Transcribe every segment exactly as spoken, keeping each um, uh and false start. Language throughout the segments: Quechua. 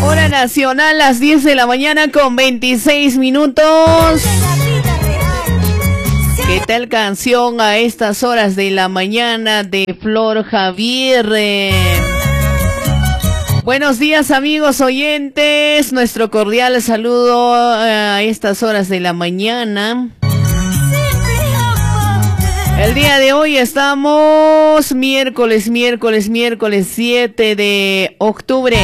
Hora nacional, las diez de la mañana con veintiséis minutos. ¿Qué tal canción a estas horas de la mañana de Flor Javier? Buenos días, amigos oyentes. Nuestro cordial saludo a estas horas de la mañana. El día de hoy estamos miércoles, miércoles, miércoles siete de octubre.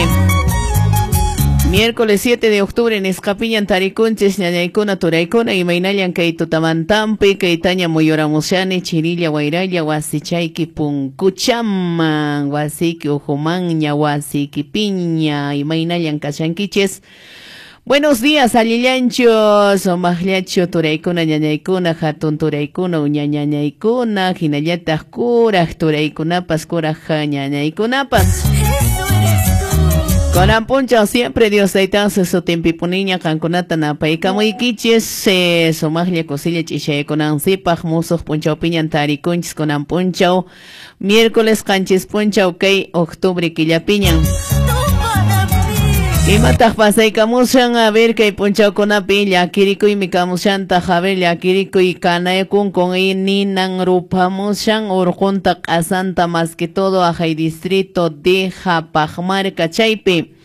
Miércoles siete de octubre en Escapiñan, Tarikunches, Ñañaykuna, Turaykuna, Imaynallan, kay tutamantampi, kaytaña muyuramushani, Chirilla, Wayralla, Wasichayki, Punkuchaman, Wasiki, Ujumanña, Wasiki, Piña, Imaynallan, kashankiches. Buenos días, allillanchos, omajllacho, turaykuna, ñañaykuna, hatun turaykuna, uñañañaykuna, hinallataq kuraj turaykunapas, kuraj ñañaykunapas. Kunan punchaw siempre Dios taytansi sutinpipuniña qankunata napaykamuykichis, eh, sumaqlla kusilla ch'ishaykunansipaq musuq punchawpiñan tarikunchis kunan punchaw miércoles qanchis punchaw kay octubre killapiñan. Imataq pasaykamushan, a ver kay punchawkunapi llakirikuymi kamushantaq, a ver llakirikuy kanaykun con ninan rupamushan urqunta q'asanta más que todo ajay distrito de Japajmarca chaypi.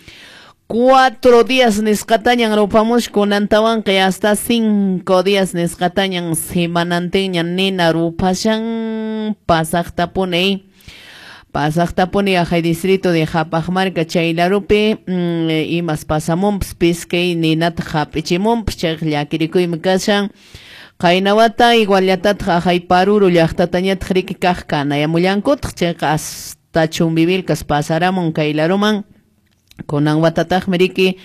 Cuatro días nisqatañan rupamush kunantawanqa hasta cinco días nisqatañan semanantinñan nina rupashan pasaqtapuni. Pasaqtapuni ajay distrito de Japajmarca chaylarupi mm, imas pasamunpas piskay ninata hap'ichimunpas chayqa llakirikuymi kashan. Qaynawata iguallatataq ajay Paruro llaqtatañataq riki kaq kanayamullankutaq chayqa hasta Chumbivilcas pasaramun kaylaruman. Kunan watataqmi riki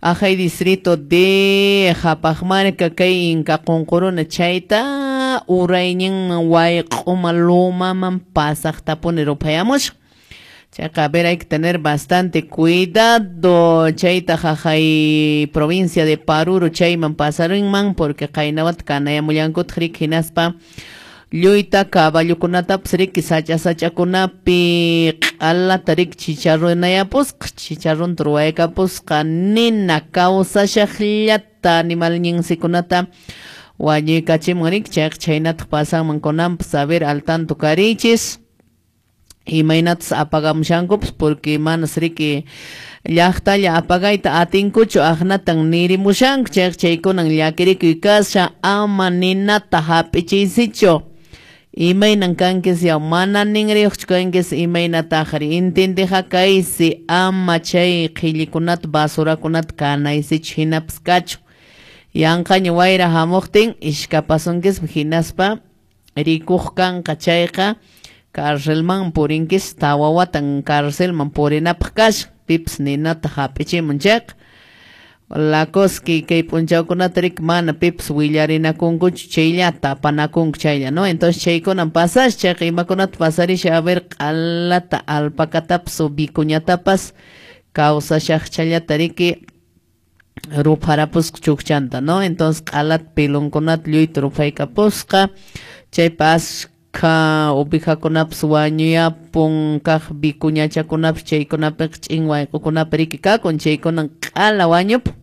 ajay distrito de Japajmarca kay Inca Qunquruna chayta urayñinman wayq'uma lumaman pasaqtapuni ruphayamushan. Chayqa a ver, hay que tener bastante cuidado chayta jajay provincia de Paruro chayman pasarinman porque qaynawata kanayamullankutaq riki hinaspa lluyta caballokunatapas riki sacha sachakunapi q'alata riki chicharrunayapusqa chicharrunta ruwaykapusqa nina kawsashaqllata animalñinsikunata wañuykachimun riki chayqa chhaynataq pasanman kunanpas a ver al tanto karichis imaynatas apagamushankupas porque manas riki llaqtalla apagayta atinkuchu aqnatan nirimushanku chayqa chaykunan llakirikuy kasha ama ninata hap'ichiysichu. Imaynan kankis yaw mana ninriyuqchu kankis imaynataqri intindiqa kaysi ama chay qhillikunata basurakunata kanaysichu hinapas kachu. Yanqaña wayra hamuqtin ishkapasunkismi hinaspa rikuq kanqa chayqa carcelman purinkis tawa watan carcelman purinapaq kashan pipas ninata hap'ichimun chayqa. La cosa que kay punchawkunata riki mana pipas willarinakunkuchu chaylla tapanakunku chaylla, ¿no? Entonces chaykunan pasash chayqa imakunata pasarisha a ver q'alata alpacatapas o vicuñatapas kawsashaqchallata riki rupharapusqa chukchanta, ¿no? Entonces q'alata pilunkunata lluyta ruphaykapusqa chaypas ka ovejakunapas wañuyapun kaq vicuñachakunapas chaykunapiqa ch'in wayq'ukunapi riki kakun chaykunan q'ala wañupun.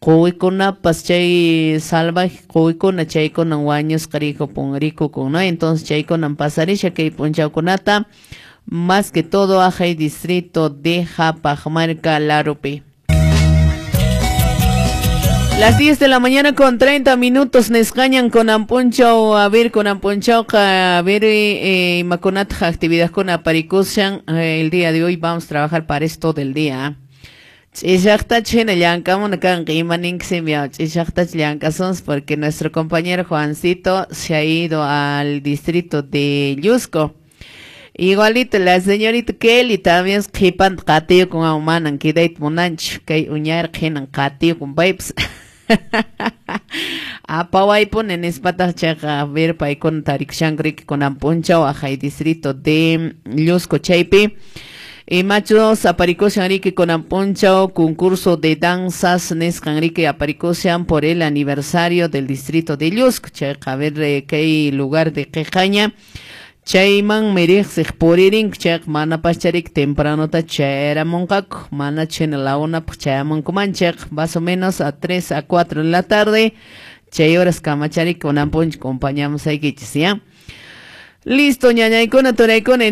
Quwikunapas chay salvaje quwikuna chaykunan wañusqa rikupun rikukun, ¿no? Entonces chaykunan pasarisha kay punchawkunata más que todo ajay distrito de Japajmarca Larupi. Las diez de la mañana con treinta minutos nesqañan kunanpunchaw, a ver kunanpunchawqa a ver eh, imakunataq actividadkuna aparikushan. Eh, el día de hoy vamos a trabajar para esto del día. Ch'ishaqtachu hina llank'amuna kanqa imaninkisim yaw ch'ishaqtachu llank'asunsi porque nuestro compañero Juancito se ha ido al distrito de Llusco. Igualito la señorita Kelly también qhipanta qatiyukun manan quedayta munanchu kay uñarqa hinan qatiyukun paypas. Apawaypuni nispataq chayqa a ver paykuna tarikushanku riki kunan punchaw ajay distrito de Llusco chaypi. Imachos aparikushan riki kunan punchaw concurso de danzas nisqan riki aparikushan por el aniversario del distrito de Llusco chayqa a ver kay lugar de Quejaña. Chaymanmi riqsiq puririnku, chayqa manapaschariki tempranota chayaramunqaku, mana chhina la unapaq chayamunkuman, chayqa más o menos a tres a cuatro de la tarde, chay horas kamachariki kunan p'unchay compañamusaykichis, ¿ya? Listo, ñañaykuna, turaykuna.